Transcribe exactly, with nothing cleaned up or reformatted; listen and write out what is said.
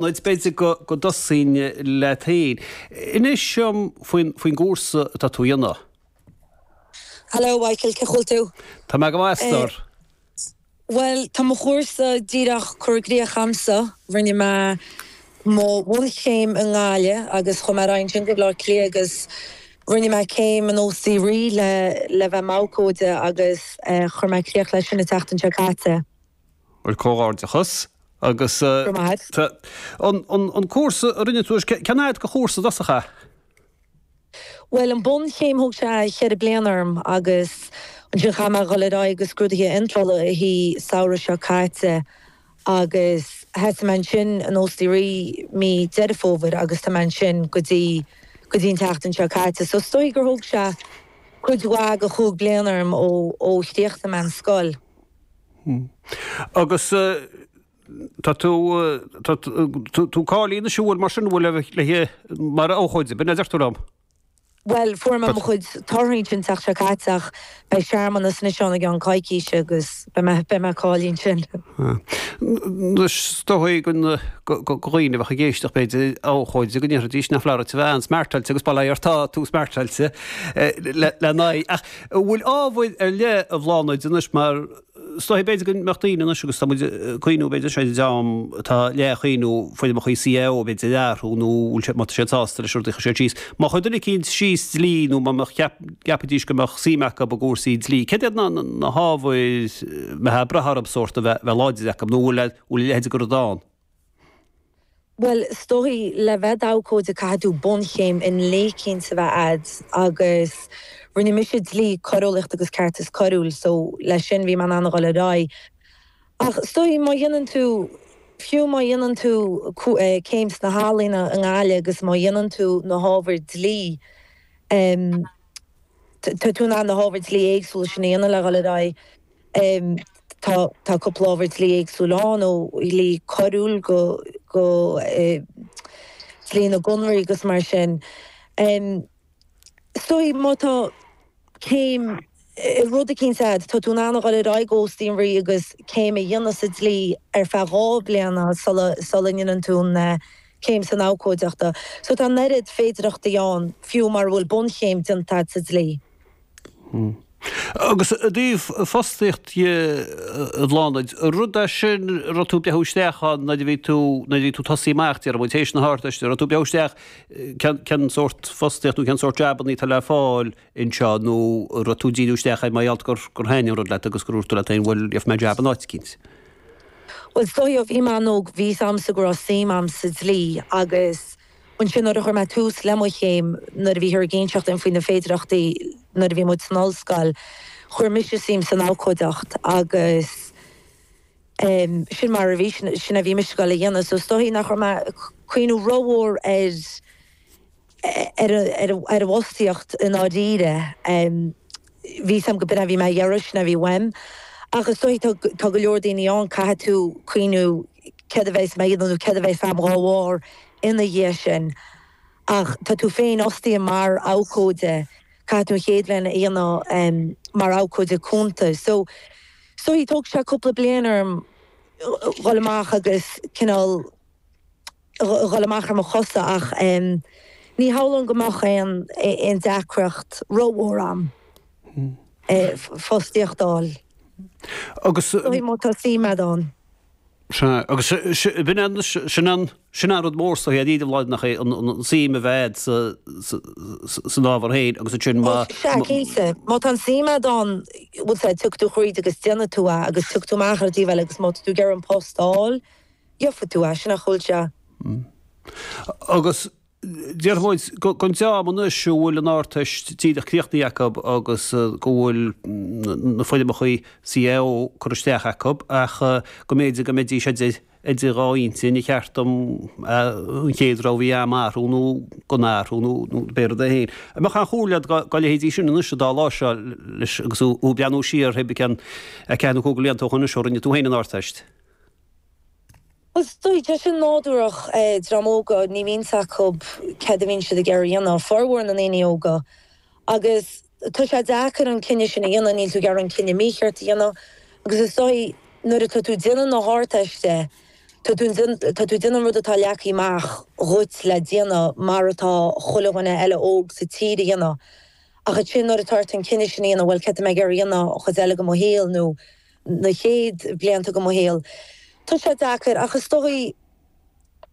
B'fhéidir go go dtosóinn leat féin. Inis dom faoin faoin gcúrsa atá tú a dhéanamh. Hello Michael, cén chaoi a bhfuil tú? Tá mé go maith a stór. Bhuel, tá mo chúrsa díreach curtha i gcrích a'msa. Rinne mé mo bhunchéim i nGaillimh agus chuaigh mé ar aghaidh ansin go Baile Átha Cliath agus rinne mé céim in Óstaí Rí le le bheith i m'abhcóide agus chuir mé críoch leis sin an tseachtain seo caite. Bhuel, comhghairdeachas agus Go maith. an an an cúrsa a rinne tú, cén fhad de chúrsa i dtosach é? Bhuel, an bunchéim thóg sé cheithre bliana orm agus ansin chaith mé dhul ar aghaidh go scrúduithe iontrála an samhradh seo caite agus thosaigh mé ansin in Óstaí Rí mí Deireadh Fómhair agus tá mé ansin go dtí go dtí an tseachtain seo caite. So is dóigh gur thóg sé cuid mhaith de chúig bliana orm ó ó chríochnaigh mé an scoil. Agus tá tú tá tú cáilithe anois an bhfuil mar sin an bhfuil le mar abhcóide, b'in a deir tú liom? Bhuel, fuair mé mo chuid torthaí ansin an tseachtain seo caite ach beidh searmanas anois ann i gceann coicíse agus beidh mé beidh mé cáilithe ansin. Anois is dóigh go go dhaoine a bheadh ag éisteacht b'fhéidir abhcóide go ndéarfaidís nach leor a bheith an-smartáilte agus bail ó Dhia ort tá tú smartáilte le le n-aghaidh. Ach an bhfuil ábhair ar leith a Bhláthnaid anois mar Is dóigh b'fhéidir go mbeadh daoine anois agus tá muid ag cuimhniú b'fhéidir sé dream atá le cuimhniú foirmeacha CAO b'fhéidir a athrú nó bhfuil sé má tá siad sásta leis rudaí a chuir siad síos. Má chuir duine eicínt síos dlí nó má mbeadh cheap gceapfaidís go mbeadh suim acu i gcúrsaí dlí, céard iad na na hábhair mbeadh ag brath orthu sórt a bheith bheith láidir acu nó bhfuil bhfuil a leithéid de rud ann? Bhuel, is dóigh, le bheith i d'abhcóide caithfidh tú bunchéim i ndlí eicínt a bheith a'd agus rinne mise dlí, coireolaíocht agus ceartas coiriúil so leis sin bhí mé in ann a dhul ar aghaidh. Ach is dóigh má dhéanann tú, fiú má dhéanann tú céim sna healaíona i nGaillimh agus má dhéanann tú na hábhair dlí, tá tú in ann na hábhair dlí éagsúla sin a dhéanamh le dhul ar aghaidh. Tá tá cúpla ábhar dlí éagsúil ann, ó dhlí coiriúil go go dlí na gconarthaí agus mar sin. Is dóigh má tá céim i rud eicínt a'd, tá tú in ann a dhul ar aghaidh go Óstaí an Rí agus céim a dhéanamh sa dlí ar feadh dhá bliana sula sula ndéanann tú an céim san abhcóideachta. So tá an oiread féidireachtaí ann, fiú mara bhfuil bunchéim déanta a'd sa dlí. Agus i dtaobh fostaíocht dhe, a Bhláthnaid, rud é sin a raibh tú ag breathnú isteach ann nuair a bhí tú, nuair a bhí tú tosaí amach, déarfaidh muid, théis na hArdteiste, raibh tú ag breathnú isteach cén, cén sórt fostaíocht nó cén sórt jabannaí atá le fáil anseo nó raibh tú ag díriú isteach air mar gheall gur, gur thaitnigh an rud leat agus gur dhúirt tú leat féin, bhuel, gheobhaidh mé jab in áit eicínt. Bhuel, is dóigh ó bhí mé an-óg, bhí 'fhios a'msa go raibh suim a'm sa dlí agus ansin nuair a chuir mé tús le mo chéim, nuair a bhíthear ag inseacht dúinn faoi na féidireachtaí nuair a bhí muid san ollscoil, chuir mise suim san abhcóideacht agus sin mar a bhí, sin a bhí mise ag dul a dhéanamh. So is dóigh nach raibh mé ag cuimhniú rómhór ar ar ar ar an bhfostaíocht i ndáiríre. Bhí 'fhios a'm go b'in a bhí mé a iarraidh, sin a bhí uaim. Ach is dóigh tá tá go leor daoine ann, caithfidh tú cuimhniú céard a bheas mé a dhéanamh nó céard a bheas a'm dhá bharr ina dhiaidh sin. Ach tá tú féinfhostaithe mar abhcóide, caithfidh tú an chéad bhliain a dhéanamh mar abhcóide cúnta. So is dóigh tógfaidh sé cúpla bliain orm dhul amach agus cineál dhul amach ar mo chosa ach ní shamhlóinn go mbeadh aon aon deacracht rómhór a'm fostaíocht a fháil. Agus. Má tá suim a'd ann. Sea, agus b'in an, sin an, sin an rud mór sa shaol, a Bhláthnaid, nach é an suim a bheith a'd sa, san ábhar féin agus ansin má. Sea, cinnte. Má tá an suim a'd ann, bhfuil 's a'd, tiocfaidh tú thríd agus déanfaidh tú é agus tiocfaidh tú amach ar an taobh eile agus má tá tú ag iarraidh an post a fháil, gheobhaidh tú é, sin nach bhfuil sé. Agus déarfaidh muid don dream anois a bhfuil an Ardteist díreach críochnaithe acu agus go bhfuil na foirmeacha CAO curtha isteach acu ach go mb'fhéidir go mbeidís idir idir dhá intinn, ar cheart dom an chéad rogha a bhí a'm a athrú nó gan athrú nó nó pé rud é féin. An mbeadh aon chomhairle agat do leithéidí sin anois an dá lá seo leis agus thú ag breathnú siar pé cén a ceathair nó cúig de bhlianta ó shoin anois ó rinne tú féin an Ardteist? Bhuel, is dóigh, tá sin nádúrach, dream óga, ní bhíonn 's acu céard a bhíonn siad ag iarraidh a dhéanamh, formhór na ndaoine óga. Agus tá sé deacair an cinneadh sin a dhéanamh, níl tú ag iarraidh an cinneadh mícheart a dhéanamh. Agus is dóigh, nuair atá tú ag déanamh na hArdteiste, Tá tú tá tú déanamh rud atá leagtha amach dhuit le déanamh mar atá chuile dhuine eile óg sa tír a dhéanamh. Ach ansin nuair atá ort an cinneadh sin a dhéanamh, bhuel céard tá mé ag iarraidh a dhéanamh an chuid eile de mo shaol nó na chéad blianta de mo shaol. Tá sé deacair ach is dóigh